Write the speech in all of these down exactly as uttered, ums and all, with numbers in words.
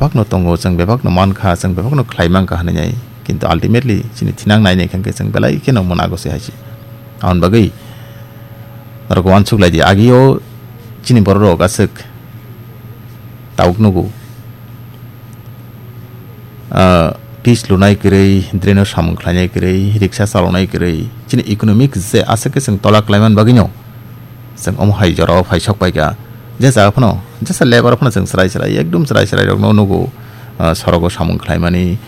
bebakno tongo, chwng bebakno mankha, chwng bebakno khlai mankha hwnwi nai. Kintu ultimately chini thinang nai nai khe chwng belai kheno mwnago se hai se. Aboni bagwi norok uansuk lai di, agio chini borok rok aswk tabuk nugo. Ah, pitch lunai kwrwi, drain o samung khlainai kwrwi, riksa chalonai kwrwi, chini economic je aswk khe chwng tola khlaiman bagwino chwng omo hai jorao phai sok paikha. Je jaga phano, jesa lebar phano chwng chwrai chwrai, ekdum chwrai chwrai rokno nugo, ah, sorogo samung khlaimani,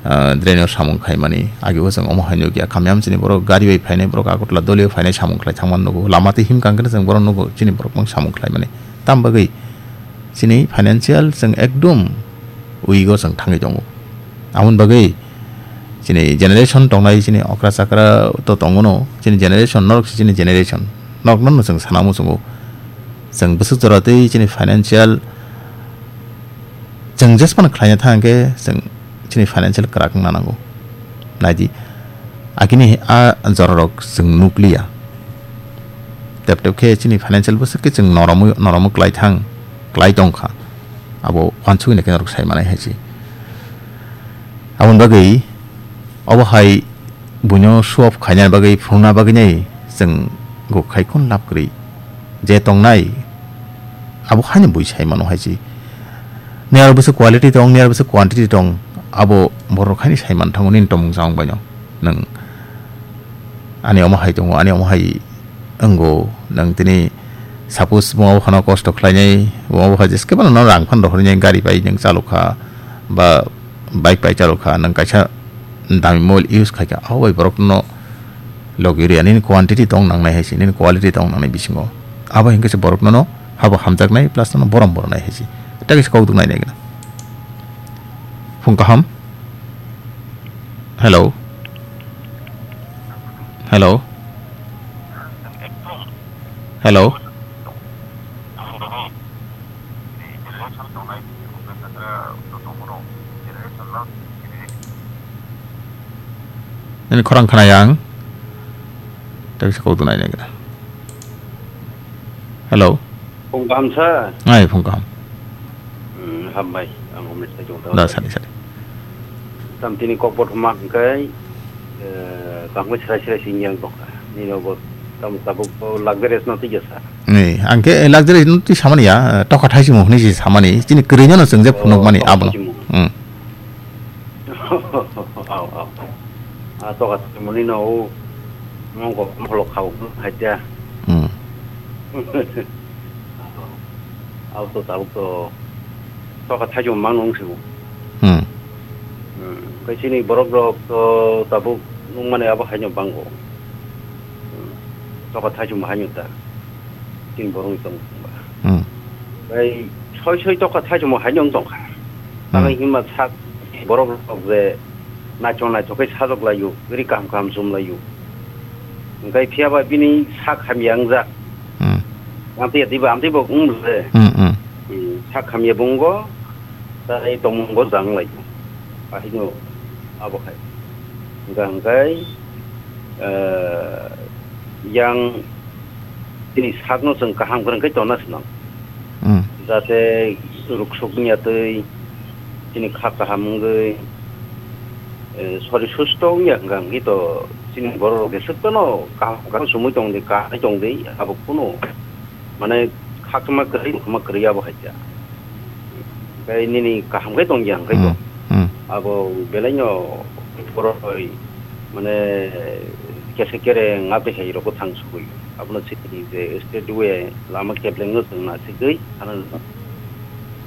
ah, drain o samung khaimani. Ageo chwng omo hai nukya, kamiyam chini borok gari bai phainai, borok Agartala doli o phainai samung khlai thangmani nugo. Lama twi himkha hwnkhe chwng borok nugo, chini borok mang samung khlaimani. Tam bagwi chini financial chwng ekdum weak o chwng thangwi tongo. Aboni bagwi chini generation tongnai, chini okra chakra to tongono, chini generation norok se chini generation. Norokno no chwng sana muchungo. Chwng bwswk jora twi chini financial chwng jesmano khlaina thang khe chwng chini financial kwrak wngna nango. Naidi, agini a jorarok chwng nukliya. Tep tep khe chini financial bwswk khe chwng noromo, noromo klai thang, klai tong kha. Abo uansugwi naikhe norok sai manai hai se. Aboni bagwi obo hai buino show off khaina bagwi, phunukna bagwi nai chwng go khai khun lab kwrwi. Je tongnai, abo haino bui sai mano hai se. Niyar bwswk quality tong, niyar bwswk quantity tong, abo borok haino sai man thango nini tomung chamung baino. Nwng ani omo hai tongo, ani omo hai wngo, nwng tini suppose bo obo phano kosto khlainai, bo obo hai jeskhe phano rang phano rohornai gari bai nwng chalokha, ba bike bai chalokha, nwng kaisa dami mobile use khaikha, abo bai borokno logi rwya, nini quantity tong nangnai hai se, nini quality tong nangnai bisingo. Abo hinkhe se borokno no habo hamjaknai plus no borom boronai hai se. Tei kaisa kok duknai nai gana. Phung kaham. Hello. Hello. Hello. Nini khorang khna yang. Tei kaisa kok duknai nai gana. Hello. Phung kaham sa? Ai, phung kaham. Hmm, hambai. Ang home side jong Da, tong. Sadi, sadi. Tam tini kok bothomak hingkai, eh, kaham srai srai sing yang tongkha. Nini obo tam tabuk to luxurious no twi jasa. Ni, ang khe luxurious no twi samani ya, eh, tokha thaisimo hwnwi se samani. Chini kwrwino no chwng je phunuk mani abono. Oh, thaisimo. Hmm. Au, au. A tokha thaimani no o mongkok mokholok kha o hai tia. Hmm. Au to tabuk to tokha thaijwng mang nung sigo. Hmm. Hmm. Kai chini borok rok to tabuk nung mani abo haino bango. Hmm. Tokha thaijwng haino ta. Chini borok ni tong ba. Hmm. Bai soi soi tokha thaijwng haino tong kha. Hmm. Tamo hima sak borok rok je naithok naithok khe sajwk laio, ri kaham kaham chum laio. Hwnkhe phiya ba bini sak hamya wngjak. Hmm. Amtwi diba, amtwi bo wng le. Hmm, hmm. Hmm, sak hamya bo wngo, tai tongmung bo jang laio. Ahino abo hai. Hwnkha hwnkhe, eh, yang Chini sakno chwng kaham kwrwng khe tonna swnam. Hmm. Jate ruksuk wngya twi chini kha kaham wngwi, eh, sori susto wngya hwnkha hwnkhe to chini borok rok jeswk phano kaham kaham sumui tong di, kaham tong di, abo kunu mane khakma kwrwi, khakma kwrwi abo hai kha. Tei nini kaham khe tongya hwnkhe bo. Hmm, hmm. Abo belaino borok bai mane kesa kereng a bwsai rokbo thang sugui. Abono chini je state way lama keplengno chwng nasigwi thana nang.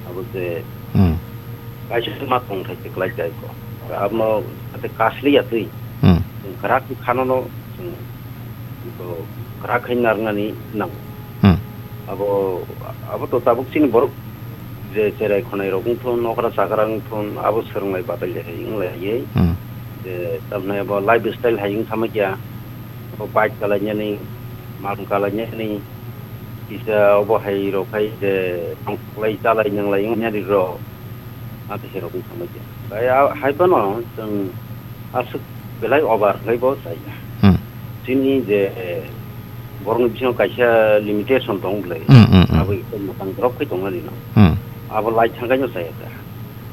Abo je Hmm. kaisa ma tongthai se kwlai jai ko. Abono ate kasli ya twi. Hmm. Kwrak khanono chwng to kwrak khai narwknani nango. Hmm. Abo, abo to tabuk chini borok je cherai khonai rok wngthun, nokra chakra wngthun, abo swrwnglai batailai hai wnglaiwi. Hmm. Je tamni abo lifestyle hai wng thangma kya, abo bike kalainani, malung kalainani, kisa obo hai rok hai je tongthoklai chalai nwnglai wngnani rok. Abo hai rok wng thangma kya. Bai a-, hai phano chwng aswk belai over khlai bo chaya. Hmm. Chini je borokni bisingo kaisa limitation tong bwlai. Hmm, hmm, hmm. Abo iko mwtang drop khai tongmani no. Hmm. Abo lai thangkaino chaya kha.